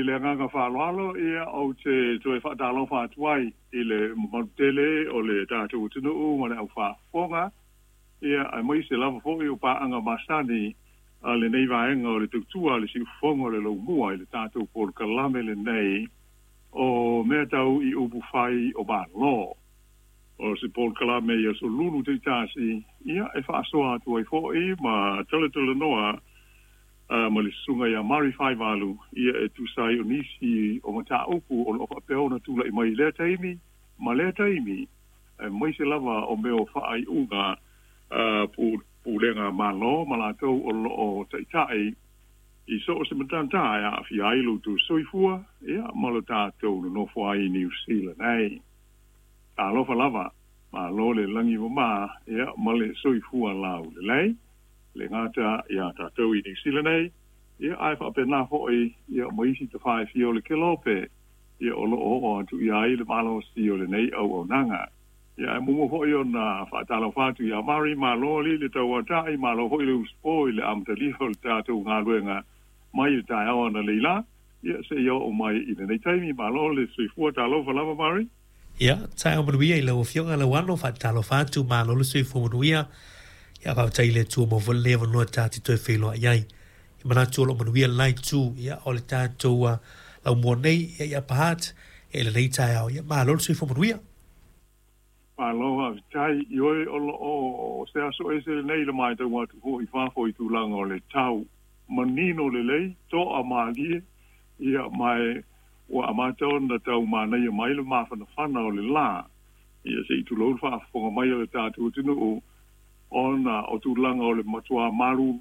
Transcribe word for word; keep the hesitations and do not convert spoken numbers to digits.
le agaga faaaloalo ia ou te toe faatalofa atu ai i le mamalu tele o le tatou atunuu ma le aufaafofoga ia aemaise lava foʻi o paaga masani a lenei vaega o le tautua a le siufofoga o le laumua i le tatou polokalame lenei o mea tau i upu fai o Malo. O se polokalame i aso lulu taitasi ia e faasoa atu ai foʻi ma talatalanoa uh, ma le susuga ia Mari Faivalu ia e tusa ai o nisi o mataupu o loo faapea ona tulaʻi mai i lea taimi ma lea taimi aemaise lava o mea o faaiuga uh, pulega malo ma latou o loo taʻitaʻi i so o se matata e aafia ai lo outou soifua ia ma lo tatou nonofo ai i Niu Sila nei. Talofa lava, malo le lagi mamā ia ma le soifua laulelei le gata iā tatou i Niu Sila nei ia ae faapena foʻi ia ma isi tafa e fia o le kelope ia o loo oo atu i ai le malosi o lenei auaunaga. Ia ae muamua foʻi ona faatalofa atu iā Mari, malo alii le tauataʻi, malo foʻi le usupo i le amatalia o le tatou galuega mai le taeao analeila ia seia oo mai i lenei taimi. Malo le soifua, talofa lava Mari. Ia, taeao manuia i lau Afioga Lauano, faatalofa atu, malo le soifua manuia. Ia, faafetai i le Atua mo foi lenei avanoa ta te toe feiloai ai. I manatu o loo manuia lenai itu, ia, o le tatou uh, laumua nei, ia, i Upper Hutt, ia, i lenei taeao, ia, malo le soifua manuia. Malo faafetai. Ioe, o loo se aso ese lenei i le matau atu foi i fafo i tulaga o le tau manino lelei toa malie ia ma e ua amata ona tau manaia mai le mafanafana o le lā ia se i tulou le faafofoga mai o le tatou atunuu ona o tulaga o le matuā malu.